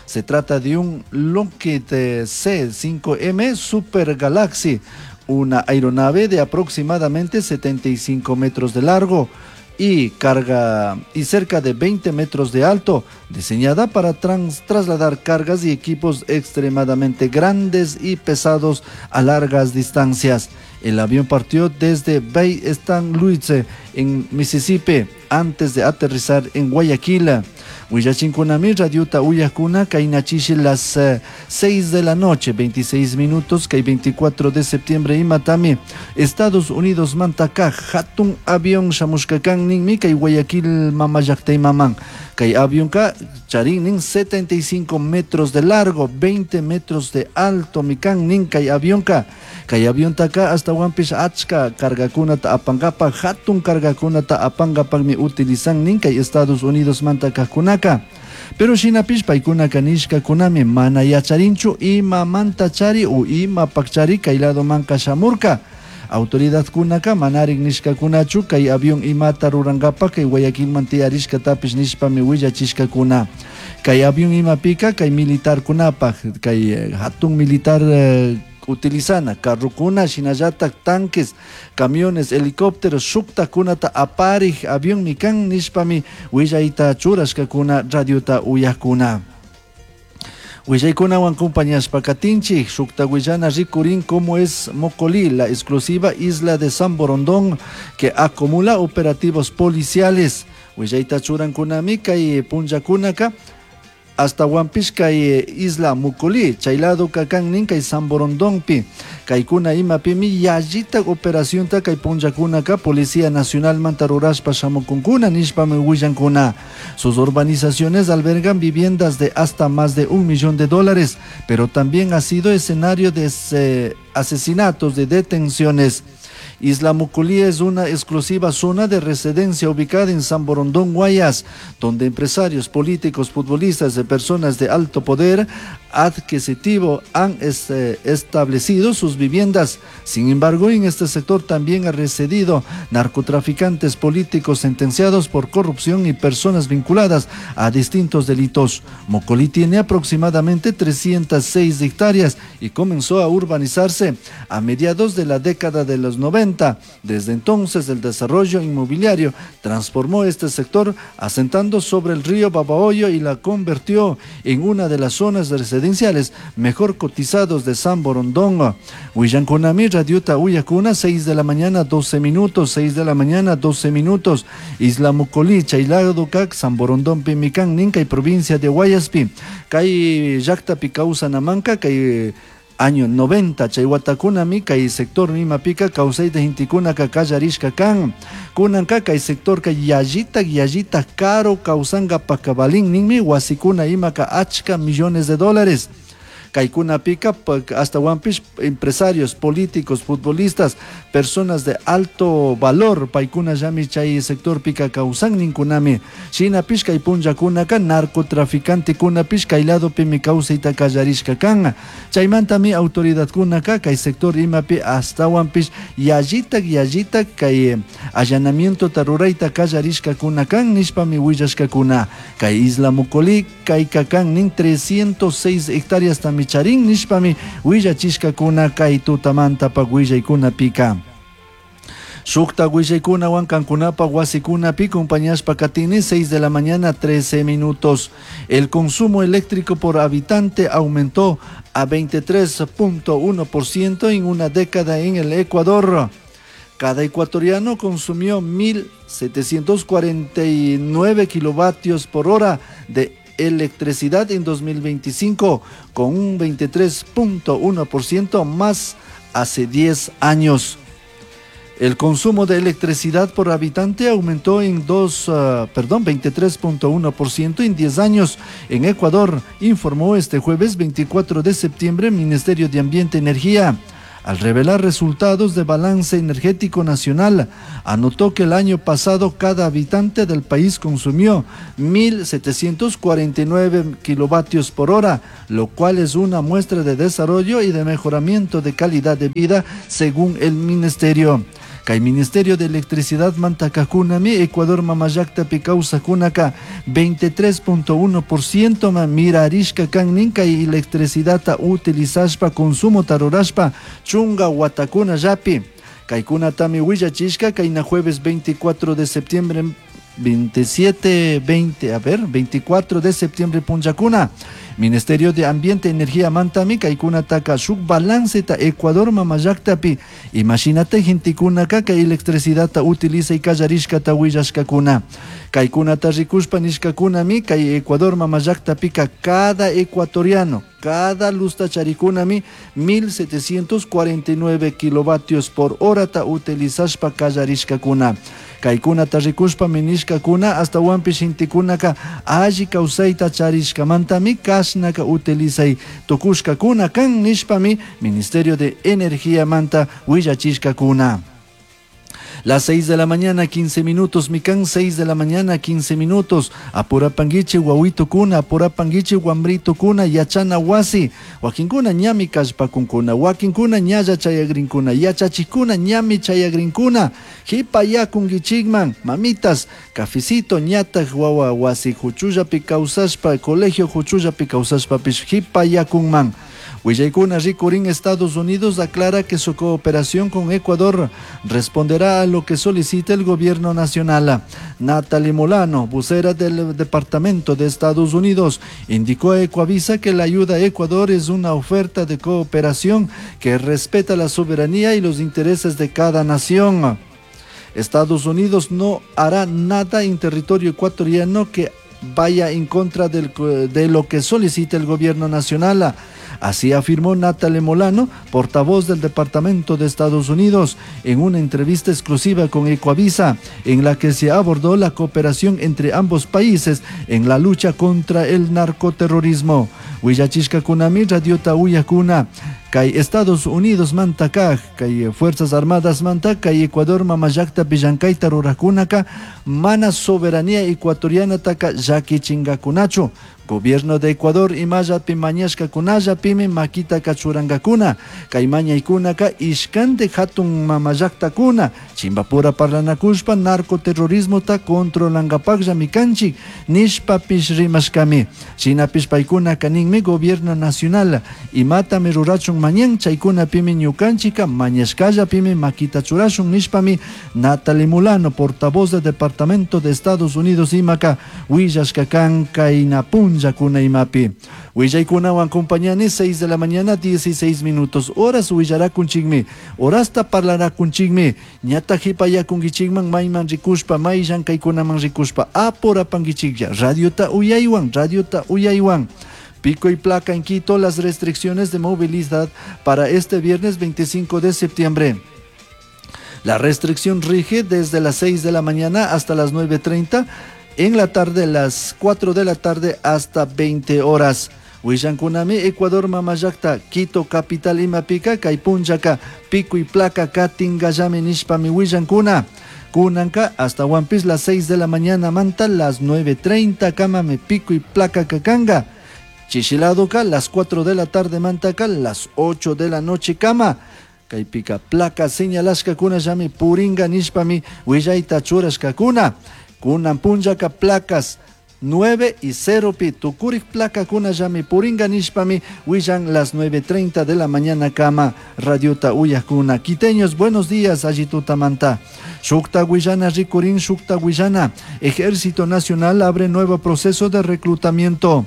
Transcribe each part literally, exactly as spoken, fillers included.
Se trata de un Lockheed C cinco M Super Galaxy, una aeronave de aproximadamente setenta y cinco metros de largo y carga y cerca de veinte metros de alto, diseñada para trans-, trasladar cargas y equipos extremadamente grandes y pesados a largas distancias. El avión partió desde Bay Saint Louis en Mississippi antes de aterrizar en Guayaquil. Huillachinkunami radiota uyakuna kainachishi las, eh, seis de la noche, veintiséis minutos, kay veinticuatro de septiembre imatami, Estados Unidos mantaka hatun avión shamushkakan ninmi kay Guayaquil mamallaqtay maman. Kay avionka charinnin setenta y cinco metros de largo, veinte metros de alto mikan nin kay avionka. Kay aviontaka hasta wampish achka cargakunata apangapa, hatun cargakunata apangapagmi utilizan nin kay Estados Unidos mantakakunaka. Pero shinapish paykunaka nishkakunami mana yacharinchu ima manta chari u ima pakchari kay lado manka shamurka. Autoridad kunaka manarik nishkakunachu kay avión imata rurankapa kay Guayaquilman tiyarishkatapish nishpami willachishkakuna. Kay avión imapika kay militar kunapaj, kay, eh, hatun militar, eh, utilizana, carrukuna, shinallatak tanques, camiones, helicópteros, shuktakunata aparij avión mikan nishpami willayta churashkakuna radiota uyakuna. Willaykunawan compañashpa katinchik, shukta willana rikurin como es Mocolí, la exclusiva isla de San Borondón que acumula operativos policiales. Willayta churankunami kay punllakunaka hasta Huampish kay isla Mocolí, chaylado kakan kay San Borondónpi. Kaykuna imapimi yallita operación ta kay punllakunaka Policía Nacional mantarurashpa shamukunkuna nishpami willankuna. Sus urbanizaciones albergan viviendas de hasta más de un millón de dólares, pero también ha sido escenario de ese, asesinatos, de detenciones. Isla Mocolí es una exclusiva zona de residencia ubicada en San Borondón, Guayas, donde empresarios, políticos, futbolistas y personas de alto poder adquisitivo han este, establecido sus viviendas. Sin embargo, en este sector también han residido narcotraficantes, políticos sentenciados por corrupción y personas vinculadas a distintos delitos. Mocolí tiene aproximadamente trescientas seis hectáreas y comenzó a urbanizarse a mediados de la década de los noventa. Desde entonces, el desarrollo inmobiliario transformó este sector, asentando sobre el río Babahoyo y la convirtió en una de las zonas residenciales mejor cotizados de San Borondón. Huillanconami, Radiota Uyacuna, seis de la mañana, doce minutos, seis de la mañana, doce minutos. Isla Mocolí, Chaylado, Cac, San Borondón, Pimicán, Ninca y provincia de Guayaspi. Cay Yacta, Picausa, Namanca, cay año noventa, chayhuatakunami, kay sector mimapica, kawsayta hintikunaka kallarishka kan. Kunanka kay sector kay yallita, yallita caro kawsanka pakabalin ninmi, wasikuna imaka achka millones de dólares. Kaykunapika, pa-, hasta wampish, empresarios, políticos, futbolistas, personas de alto valor, paykuna llami chay sector pika kawsan ninkunami. Shinapish kay punllakunaka narcotraficante kunapish kay lado pimi kawsayta kallarishka kan. Chaymantami autoridadkunaka kay sector imapi hasta wampish yallita, yallita kay allanamiento tarurayta kallarishka kuna kan nishpami willashkakuna. Kay Isla Mocolí kay kakan nin trescientos seis hectáreas tami charin nishpami willachishkakuna kay tutamantapa willaykunapika. Shukta willaykunawan kankunapa wasikunapi compañashpa katini seis de la mañana trece minutos. El consumo eléctrico por habitante aumentó a veintitrés punto uno por ciento en una década en el Ecuador. Cada ecuatoriano consumió mil setecientos cuarenta y nueve kilovatios por hora de electricidad en dos mil veinticinco, con un veintitrés punto uno por ciento más hace diez años. El consumo de electricidad por habitante aumentó en dos, ah, perdón, veintitrés punto uno por ciento en diez años en Ecuador, informó este jueves veinticuatro de septiembre el Ministerio de Ambiente y Energía. Al revelar resultados de balance energético nacional, anotó que el año pasado cada habitante del país consumió mil setecientos cuarenta y nueve kilovatios por hora, lo cual es una muestra de desarrollo y de mejoramiento de calidad de vida, según el ministerio. Kay Ministerio de Electricidad mantakakunami Ecuador mamallaktapi kawsakkunaka veintitrés punto uno por ciento ma mirarishka kan nin kay electricidadta utilizashpa consumota rurashpa chunga watakunallapi. Kaykunatami willachishka kayna jueves veinticuatro de septiembre veintisiete, veinte, a ver, veinticuatro de septiembre punchakuna. Ministerio de Ambiente, Energía mantami kaykunataka shuk balance ta Ecuador mamallaktapi. Imagínate gentekunaka kay electricidadta utiliza y kallarishkata willashkakuna. Kaykunata rikushpa nishkakunami kay Ecuador mamallaktapika cada ecuatoriano, cada luzta charikunami mil setecientos cuarenta y nueve kilovatios por hora ta utilizashpa kallarishkakuna. Kaykunata rikushpa minishkakuna hasta wampi shintikunaka alli kawsayta charishkamantami kashnaka utilizay tukushkakuna kan nishpami Ministerio de Energía manta willachishkakuna. Las seis de la mañana, quince minutos, mikan, seis de la mañana, quince minutos. Apurapanguiche, guauito kuna, apurapanguiche, guambrito kuna, yachana wasi. Wakinkuna, ñami kashpakunkuna, wakinkuna, ñaya chayagrinkuna, yachachikuna, ñami chayagrinkuna. Jipayakunguichigman, mamitas, cafecito, ñata, guawa, wasi, juchullapi causaspa, colegio juchullapi causaspa, pish, jipayakunman. Willaykuna rikurin Estados Unidos aclara que su cooperación con Ecuador responderá a lo que solicita el gobierno nacional. Natalie Molano, vocera del Departamento de Estados Unidos, indicó a Ecuavisa que la ayuda a Ecuador es una oferta de cooperación que respeta la soberanía y los intereses de cada nación. Estados Unidos no hará nada en territorio ecuatoriano que vaya en contra del, de lo que solicita el gobierno nacional. Así afirmó Natalie Molano, portavoz del Departamento de Estados Unidos, en una entrevista exclusiva con Ecuavisa, en la que se abordó la cooperación entre ambos países en la lucha contra el narcoterrorismo. Huillachishka kunami radiota uyakuna, kay Estados Unidos mantakaj, kay Fuerzas Armadas mantak, kay Ecuador mamallakta pillankayta rurakunaka, mana soberanía ecuatoriana taka llakichingakunachu. Gobierno de Ecuador imallapi mañashkakunalla pimi makita kachurangakuna, kay mañaykunaka ishkante hatun mamallaktakuna, chimbapura parlanakushpa narcoterrorismota controlangapaklla mikanchik, nishpapish rimashkami. Shinapish paykunaka ninmi gobierno nacional, imatami rurachun mañan chaykuna pimi ñukanchika mañashkalla pimi makita churashun nishpami Natalie Molano, portavoz del Departamento de Estados Unidos imaka, willashkakan kaynapun yakuna imapi. Willaykunawan compañani seis de la mañana dieciséis minutos. Horas willarakunchikmi, horasta parlarakunchikmi, ñata hipayakunkichikman mayman rikushpa, mayllan kaykunaman rikushpa, apurapankichiklla, radiota uyaywan, radiota uyaywan. Pico y placa en Quito, las restricciones de movilidad para este viernes veinticinco de septiembre. La restricción rige desde las seis de la mañana hasta las nueve treinta, en la tarde, las cuatro de la tarde hasta veinte horas. Willankunami, Ecuador, Mamallakta, Quito, capital, Imapica, Kaypunchaka, pico y placa, Katingallami, nishpami, Willankuna. Kunanka, hasta Huampis, las seis de la mañana, Manta, las nueve treinta, Kamame, pico y placa, Kakanga. Chichiladoka, las cuatro de la tarde, Mantaca, las ocho de la noche, Kama. Kaypika, placa, señalashka, kuna, llami, Puringa, nishpami, Willayta, churashka, kuna. Kunan punchaka placas nueve y cero pi, tukurik placa kuna llami puringa nishpami, willan las nueve treinta de la mañana kama, radiota uyakuna. Quiteños, buenos días, allitutamanta. Shukta Guillana, Ricurín, Shukta Guillana. Ejército Nacional abre nuevo proceso de reclutamiento.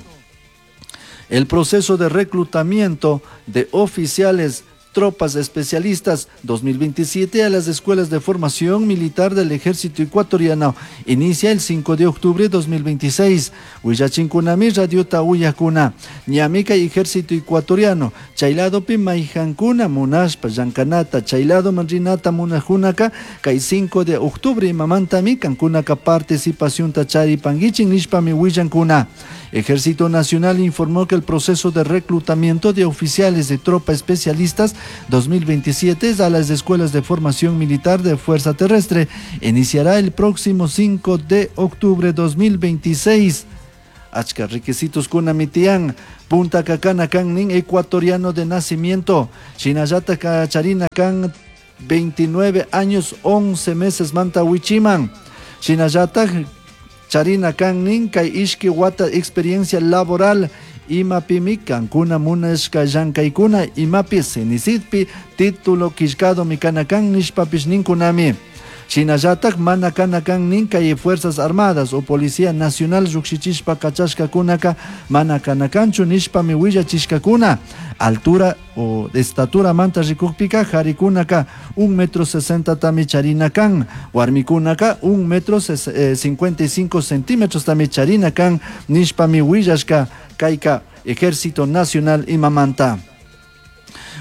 El proceso de reclutamiento de oficiales tropas especialistas dos mil veintisiete a las escuelas de formación militar del Ejército Ecuatoriano inicia el cinco de octubre de dos mil veintiséis. Huillachinkunami radiota uyakuna, ñamika Ejército Ecuatoriano, chayladopi maijankuna munashpa llankanata, chaylado manrinata munajunaka, kay cinco de octubre imamantami kankunaka participación tacharipanguichin nishpami huillankuna. Ejército Nacional informó que el proceso de reclutamiento de oficiales de tropa especialistas dos mil veintisiete a las escuelas de formación militar de Fuerza Terrestre iniciará el próximo cinco de octubre de dos mil veintiséis. Achka requisitos kunamitian, Punta Cacana kan nin ecuatoriano de nacimiento, Chinayata Kacharina kan veintinueve años once meses manta wichiman. Shinallataj charina kan nin kay ishki wata experiencia laboral imapimi kankuna munashka llankaykuna imapi SENESCYTpi título killkadomi kana kan nishpapish ninkunami. Shinallataj mana kana kan nin kay Fuerzas Armadas o Policía Nacional llukshichishpa kachashkakunaka mana kana kanchu nishpami willachishkakuna. Altura o estatura manta rikukpika jarikunaka un metro sesenta tami charina kan, warmikunaka un metro eh, cincuenta y cinco centímetros tami charina kan nishpami willashka kayka Ejército Nacional imamanta.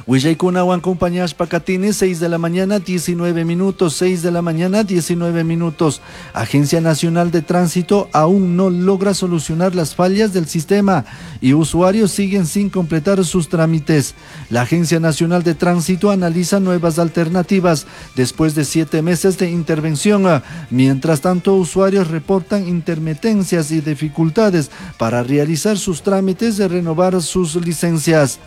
Willaykunawan acompañashpa katini, seis de la mañana, diecinueve minutos, seis de la mañana, diecinueve minutos. Agencia Nacional de Tránsito aún no logra solucionar las fallas del sistema y usuarios siguen sin completar sus trámites. La Agencia Nacional de Tránsito analiza nuevas alternativas después de siete meses de intervención. Mientras tanto, usuarios reportan intermitencias y dificultades para realizar sus trámites de renovar sus licencias.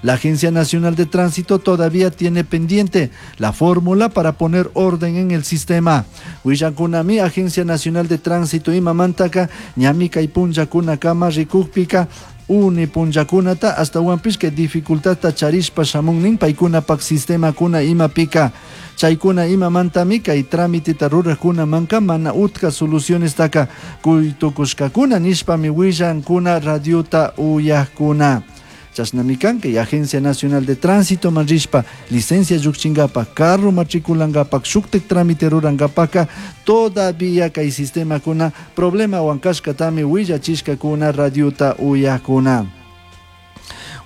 La Agencia Nacional de Tránsito todavía tiene pendiente la fórmula para poner orden en el sistema. Willakunami, Agencia Nacional de Tránsito imamantaka, ñami kay punllakunakama rikukpika, uni punllakunata hasta huampish que dificultadta charishpa shamunnin paykunapak sistemakuna imapika. Chaykuna imamantami kay trámiteta rurajkunamanka mana utka solucionestaka kuytukushkakuna nishpami willankuna radiota uyajkuna. Chashnami kan kay Agencia Nacional de Tránsito manrishpa licencia llukchinkapa, carro matriculankapak, shuktik trámite rurankapaka, todavía kay sistemakuna problema wankashkatami willachishkakuna radiota uyajkuna.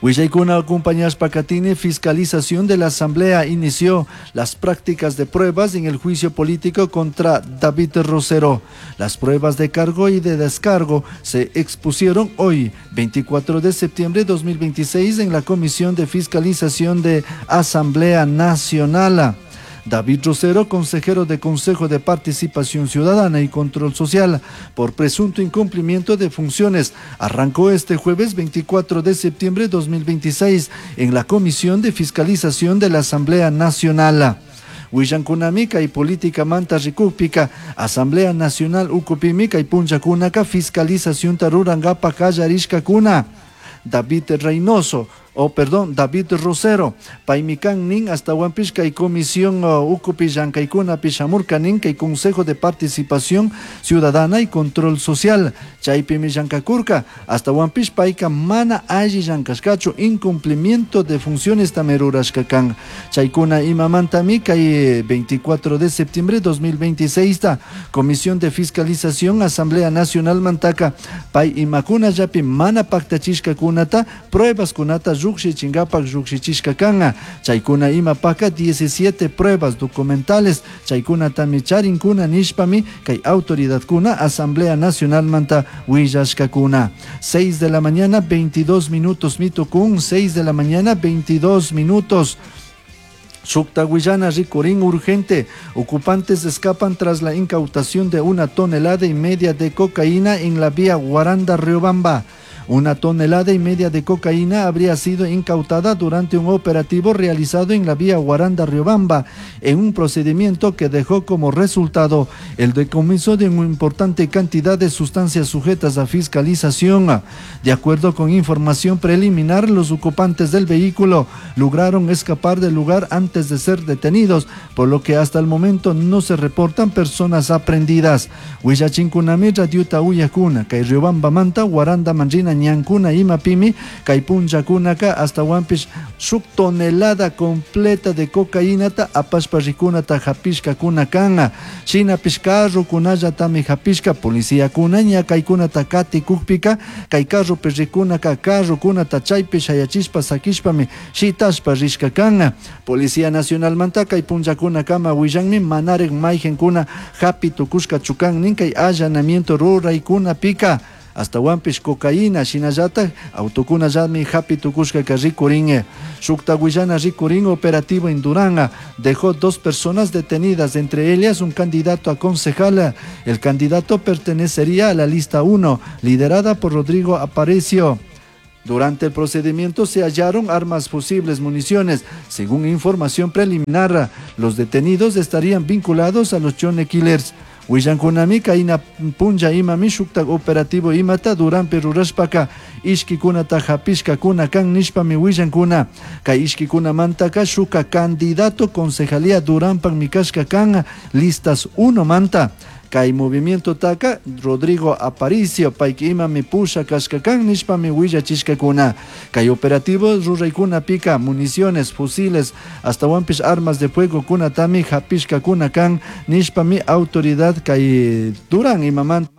Willaykuna acompañashpa katini, fiscalización de la Asamblea inició las prácticas de pruebas en el juicio político contra David Rosero. Las pruebas de cargo y de descargo se expusieron hoy, veinticuatro de septiembre de dos mil veintiséis, en la Comisión de Fiscalización de Asamblea Nacional. David Rosero, consejero de Consejo de Participación Ciudadana y Control Social, por presunto incumplimiento de funciones, arrancó este jueves veinticuatro de septiembre de dos mil veintiséis en la Comisión de Fiscalización de la Asamblea Nacional. Willankunamika y política manta rikukpika, Asamblea Nacional ukupimika y punchakunaka fiscalización tarurangapa kallarishkakuna. David Reynoso, o perdón, David Rosero, paymikan nin hasta Huampishka y Comisión, uh, Ucupi Llankaykuna Pishamurka nin kay Consejo de Participación Ciudadana y Control Social, chaypimi llankakurka, hasta Huampish payka mana alli llankashkachu, incumplimiento de funciones tamerurashkakan. Chaykuna imamantami kay veinticuatro de septiembre de dos mil veintiséis ta Comisión de Fiscalización Asamblea Nacional mantaka, pay imakuna yapi mana paktachishkakunata, pruebas kunata llukshichinkapa llukshichishkakana. Chaykuna imapaka diecisiete pruebas documentales, chaykunatami charinkuna nishpami kay autoridadkuna Asamblea Nacional manta willashkakuna. seis de la mañana veintidós minutos mitukun, seis de la mañana veintidós minutos. Shukta rikurin urgente. Ocupantes escapan tras la incautación de una tonelada y media de cocaína en la vía Guaranda-Riobamba. Una tonelada y media de cocaína habría sido incautada durante un operativo realizado en la vía Guaranda-Riobamba, en un procedimiento que dejó como resultado el decomiso de una importante cantidad de sustancias sujetas a fiscalización. De acuerdo con información preliminar, los ocupantes del vehículo lograron escapar del lugar antes de ser detenidos, por lo que hasta el momento no se reportan personas aprehendidas. Huillachinkunami, Radiuta Uyakuna, kay Riobamba manta, Guaranda Manrina, ñankuna imapimi, kay punllakunaka hasta Huampish shuk tonelada completa de cocaínata apashpa rikunata hapishkakuna kan. Shinapish carrokunallatami hapishka, policíakuna ña kaykunata katikukpika, kay carropi rikunaka carrokunata chaypi shayachishpa sakishpami shitashpa rishka kan. Policía Nacional manta kay punllakunakama willanmi manarik mayqankuna hapi tukushka chukan nin kay allanamiento ruraykunapika. Hasta Huampish cocaína, shinallata, autokuna yami hapi tukushka ka rikurin. Shukta willana rikurin operativo en Durán dejó dos personas detenidas, entre ellas un candidato a concejal. El candidato pertenecería a la lista uno, liderada por Rodrigo Aparicio. Durante el procedimiento se hallaron armas, fusibles, municiones. Según información preliminar, los detenidos estarían vinculados a los Chone Killers. Willancunami kayna punlla imami shuktak operativo imata Duranpi rurashpaka ishkikunata hapishkakuna kan nishpami willankuna. Kay ishkikunamantaka shuka candidato concejalía Duranpakmi kashka kan listas uno manta. Kay movimiento taka Rodrigo Aparicio payka imami pusha kashka kan nishpami willachishkakuna. Kay operativo ruraykunapika municiones, fusiles, ashtawanpish armas de fuego kunatami hapishkakuna kan nishpami autoridad kay Durán imamanta